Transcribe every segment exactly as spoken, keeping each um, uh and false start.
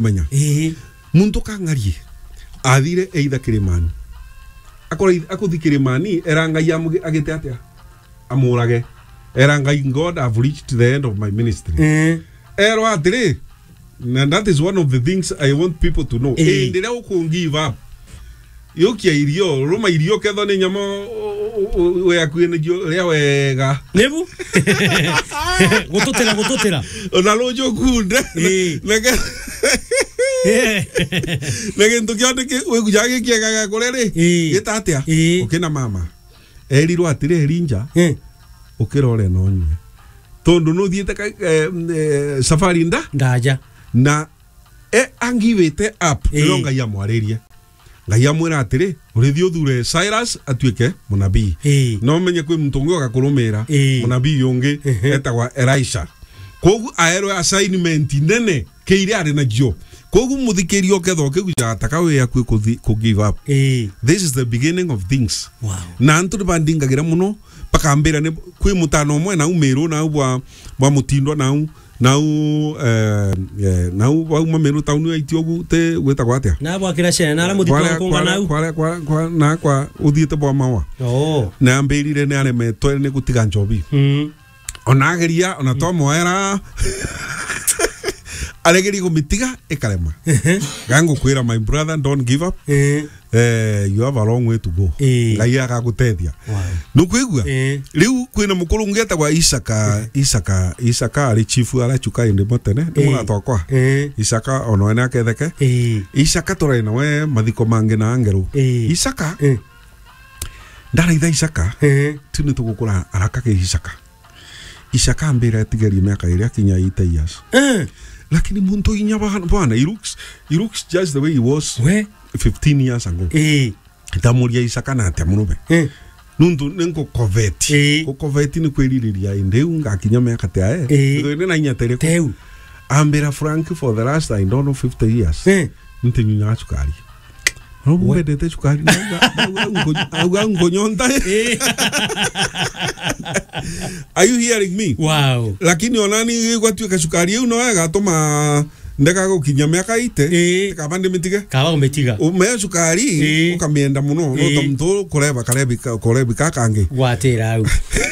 menya. Ii. Muntu kang'arie, athire either Kirimani. Akora ith-, akuthi Kirimani, era Ngai amugi-, agite atia? Amurage. Era Ngai, "God, I've reached the end of my ministry." Ii. Erwa atiri, and that is one of the things I want people to know. Ii. Indi riria uku give up, yukia irio, ruma irio kethwa ni nyama u-, u-, u-, u-, we akui ni jio ria wega. Nibu? Gututira, gututira. Ona ruju kunde. Ii. Na ke-, Ii. Na gintu kionthe ki-, wigujaga gikiega gia kuria ri? Ii. Gita atia? Ii. Ukina mama. Erirwe atiri, "Erinja, Ii. ukirore na unyue. Tondu nuthiite ka-, eh, eh, safari nda-, Ndaja. na e angivite up, Ii. niyo Ngai amwaririe." Ngai amwira atiri, "Urithi uthure Cyrus atuike munabii. Ii. Na umenye kwi muntu ungi ugakurumira, Ii. munabii ungi Ehe. etagwa Elisha." Kogu aerwe assignment nene ki iria ari nacio. Kogu muthikiria ukethwa ukigujaga taka wi akui kuthi-, ku give up. Ii. This is the beginning of things. Wow. Na antu ni bandingagira muno, bakambira ni kwi mutano umwe nau Miru nau bwa, bwa Mutindwa nau, nau, eh, eh, nau bauma Miru town aiti ugu ti gwitagwa atia? Na bwa kira cene, na ara muthito Kwara, nkunga kwara, nau. kwara, kwara, kwa-, na kwa uthiite bwa mawa. Oo. Na ambirire ni aremetwe ni gutiga njobi. Mm. Ona ageria, ona twamwera, aregeria kumitiga, ikarema. Ehe. Ga ngukwira, my brother, don't give up. Eh. Eh, you have a long way to go. Eh. Ngai agagutethia. Wow. Nukwigua? Eh. Riu kwina mukuru ungi etagwa Isaka, Eh. Isaka, Isaka ari chief ara Chuka indi mutene. Ni Eh. mwana twakwa. Eh. Isaka, ona we ni aketheke. Eh. Isaka turai nawe mathiko mangi na angeru. Eh. Isaka, Eh. ndaraitha Isaka. Eh. Tu ni tugukura araka ki Isaka. Isaka ambira atigerie miaka iri akinya eighty years. Eh. Lakini muntu inya bana, bana, he looks, he looks just the way he was We? fifteen years ago. Eh. Ndamuria Isaka na atia murume. Eh. Nuntu ni ngukoveti. Eh. Gukoveti ni kwiririria indi riu ngakinya miaka tia e. Eh. Ndo ni na inya tere. Teu. Ambira, "Frank, for the last, I don't know, fifty years." Eh. Ntinyunyaga cukari. No We- mbendete cukari. Nauga, nauga nko-, nauga nkunyonta. Eh. Are you hearing me? Wow. Lakini onani gwatuika cukari iu no igatuma ndeka gukinya miaka eighty. Eh. Kaba ndimitige. Kaba umetiga. Umea cukari, Eh. ukamienda muno. No Eh. ta muntu kureba karebi ka-, kurebi ka kangi. Gwatira au.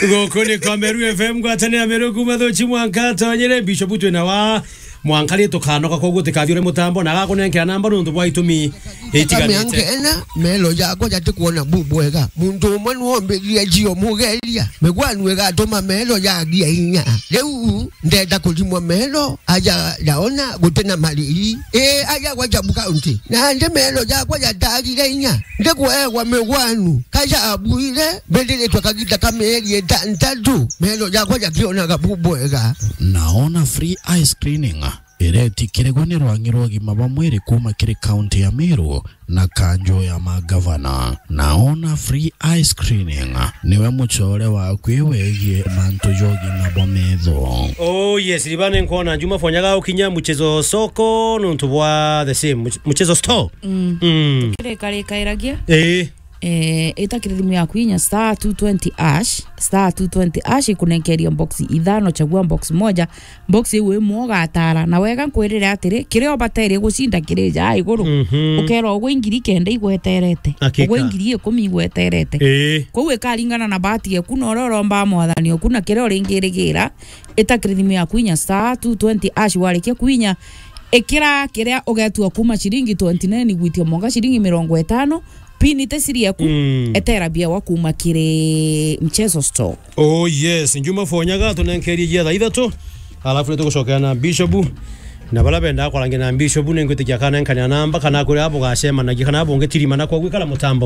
Guku ni kwa Meru F M, ngwatanira Meru kuma Thuchi mwanka tonyere Bishop twina wa Mwanka ri tukanoka, koguo tikathi uri mutambo na agakunenkera namba nuntu bwa itumi itiganite. Miaka ena, melo jakwa jatikwona bu bwega. Muntu umwe nwombiririe jio mugeria. Migwanu igatuma melo jagia inya. Riu ndenda kurimwa melo, aja ndaona gutina mariri. Ii, aja gwa Jabu County. Nandi melo jakwa jatagire inya. Ndikuegwa migwanu. Kaja abuire, mbithiritwe kagita ka mieri itantatu. Melo jakwa jakionaga bu bwega. Naona free eye screening iretikirigwa ni rwangi rwa ugima bwa mwiri kuma kiri kaunti ya Meru na kanjo ya magavana. Naona free eye screening niwe mucore waku wegie mantu ja ugima bwa metho. Oh yes, ribane nkwona Juma Fonyaga ukinya muchezo soko nuntu bwa the same much-, muchezo store. Mm. Mm. Kirikarikairagia. Eh. Eh, ita kiri thimu yaku inya star two twenty hash, star two twenty hash ikunenkeria box ithano, chagua box moja, box iu imwe ugatara. Na wega nkwirire atiri, kiria ubaterie gucinda kiri ja iguru. Mhm. Ukerwa ugwe ingiri kenda igweterete. Hakika. Ugwe ingiri ikumi igweterete. Ii. Kwou ikaringana na bahati yaku na uria uromba mwathani oku na kiria uringirigira. Ita kiri thimu yaku inya star two twenty hash, warikia kuinya, ikira kiria ugetua kuma ciringi twenty nine gwitia mwanka ciringi mirongo itano, pin ite siri yaku, Mm. etera biawa kuma kiri Mchezo Store. Oh yes, Njuma Fonyaga tunenkerie jia thaa ithatu, alafu nitugucokera na Bishop. Na baria bendaa kwarangia na Bishop, ningwitikia akanenkania namba, kana kuri abo gacemanagia, kana abo ungitirimana kwa gwikara mutambo.